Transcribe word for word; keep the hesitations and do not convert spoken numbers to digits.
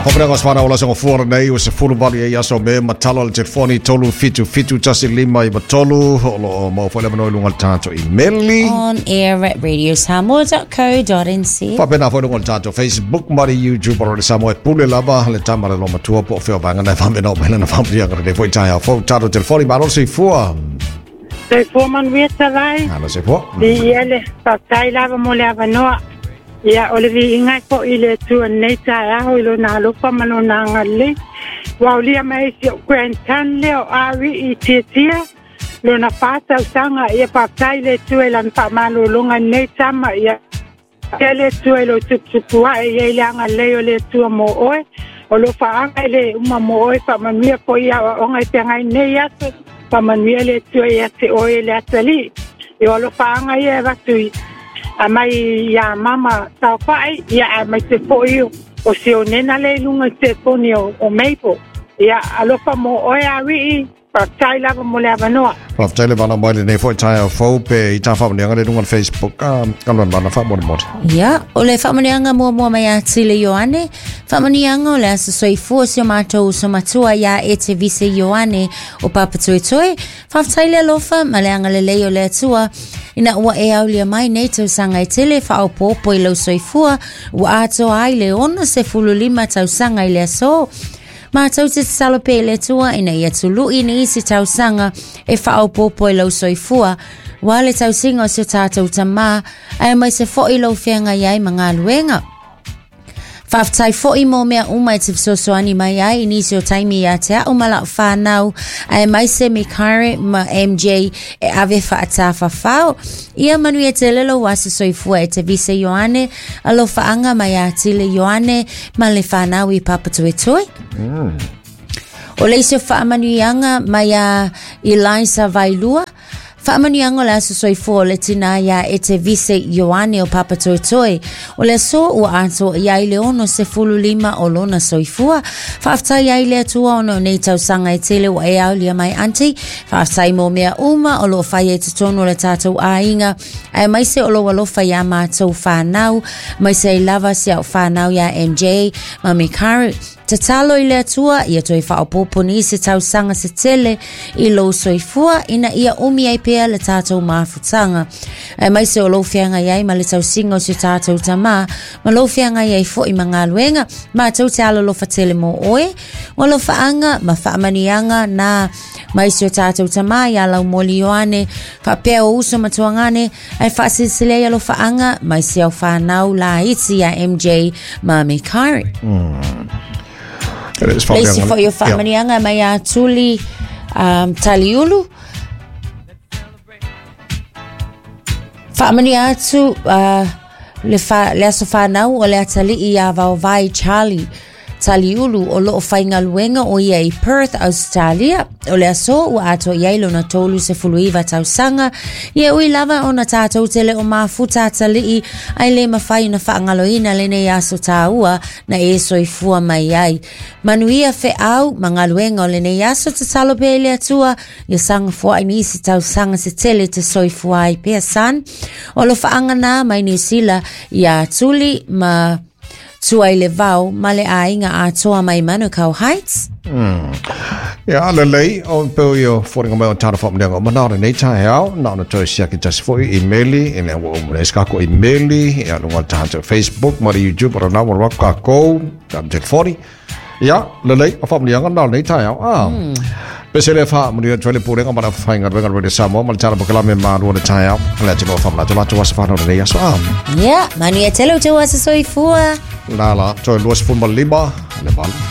Faamanuiaga o se fanau o le aso gafua lenei ua sefulu valu ai aso o Me ma talo le telefoni tolu fitu fitu tasi lima iva tolu o loo maua foi le avanoa i luga o le tatou imeli On air at radio samoa dot co dot nz. Faapena foi luga o le tatou Facebook ma le YouTube o le Samoa e pule lava le tama le lomatua po o fea o vaega na e faamena o mai lana faamanuiaga lenei foi taeao fou tatou telefoni malo le soifua. Soifua manuia talai. Malo soifua. Viia le faafetai lava mo le avanoa. Ia, o le viiga e fo'i i le Atua i lenei taeao i Lona alofa ma Lona agalelei. Ua aulia mai ai si o'u grandson lea o Ari i Tiatia, lona fa tausaga. Ia, faafetai i le Atua i Lana faamalologa i lenei tama. Ia, pea le Atua i lou tuputupu a'e, i ai le agalelei o le Atua mo oe. O lou faaga e lē uma mo oe, faamanuia foi i aoaoga i feagai nei aso, faamanuia le Atua ia te oe e le atalii. Ia, o alofaaga ia e avatu i a mai iā mama saofa'i, ia aemaise fo'i o si onena lea i luga i telefoni o, o Mabel. Ia, alofa mo oe Ari'i, faafetai lava mo le avanoa. Faafetai le valaau mai lenei foi taeao fou pe i tā faamanuiaga le luga o le Facebook a Kaluanalana faamolemole. Ia, o le faamanuiaga muamua mai ia Tile Ioane, faamanuiaga o le aso soifua o si o matou uso matua iā Ete Vise Ioane o Papatoetoe. Faafetai le alofa ma le agalelei o le Atua ina ua e aulia mai nei tausaga e tele faaopoopo i lou soifua ua atoa ai le ono sefulu lima tausaga i le aso. Matou te tatalo pea i le Atua ina ia tului nisi tausaga e faaopoopo i lou soifua, ua le tausiga o si o tatou Tamā, aemaise foi lou feagai ai ma galuega. Faafetai foi mo mea uma e te fesoasoani mai ai i nisi o taimi ia te a'u ma la'u fanau, aemaise Mikaere ma M J e ave faatafafao. Ia manuia tele lou aso soifua e te Vise Ioane, alofaaga mai ia Tile Ioane ma le fanau i Papatoetoe. O le isi o faamanuiaga mai ia Eliza Vailua, faamanuiaga o le aso soifua o le tinā iā Ete Vise Ioane o Papatoetoe. O le aso ua atoa i ai le ono sefulu lima o lona soifua. Faafetai ai le Atua ona o nei tausaga e tele ua e aulia mai aunty. Faafetai mo mea uma o loo fai e totonu o le tatou aiga, aemaise o lou alofa iā matou fanau, aemaise ai lava si au fanau iā M J ma Mikaru. Tatalo i le Atua ia toe faaopoopo nisi tausaga se tele i lou soifua ina ia umi ai pea le tatou mafutaga, aemaise o lou feagai ai ma le tausiga o si o tatou tamā, ma lou feagai ai foi ma galuega. Matou te alolofa tele mo oe, o alofaaga ma faamanuiaga na mai si o tatou tamā ia Laumoli Ioane, faapea o uso matuagane, ae faasilasila ai alofaaga mai si au fanau laiti ia M J ma Mikaere. Le isi foi o faamanuiaga mai ia Tuli um, Taliulu. Faamanuia atu uh, le, fa, le aso fanau o le atalii ia Vaovai Charlie Taliulu o loo faigaluega o ia i Perth, Australia. O le aso ua atoa i ai lona tolu sefulu iva tausaga. Ia ui lava ona tatou tele o mafuta atalii, ai le mafai ona faagaloina lenei aso tāua na e soifua mai ai. Manuia feau ma galuega o lenei aso, tatalo pea i le Atua ia saga foai nisi tausaga se tele te soifua ai pea san. O alofaaga na mai Niu Sila ia Tuli ma Tuai le vao ma le aiga atoa mai Manukau Heights. Ia, lelei, o peo i o fōringa mai o tāna whaamanianga o mana o lenei taeao, na ona toe siaki tasi foi i meli, e lea ua umuna e skako i meli, ia lunga o tātou Facebook, ma le YouTube, o rana wala wako kākou, tātou telefoni. Ia, lelei, o whaamanianga na o lenei taeao. Ah. Pese le whaamanuia tuele pūrenga mana whainga ruenga Radio Samoa, ma le tāna pokalame mālua le taeao, le ati loa whaamana, latou asa whanau lenei aso. Ah. Ia, manuia tele o te asa soifua. La la, toe lua sefulu ma lima, le valu.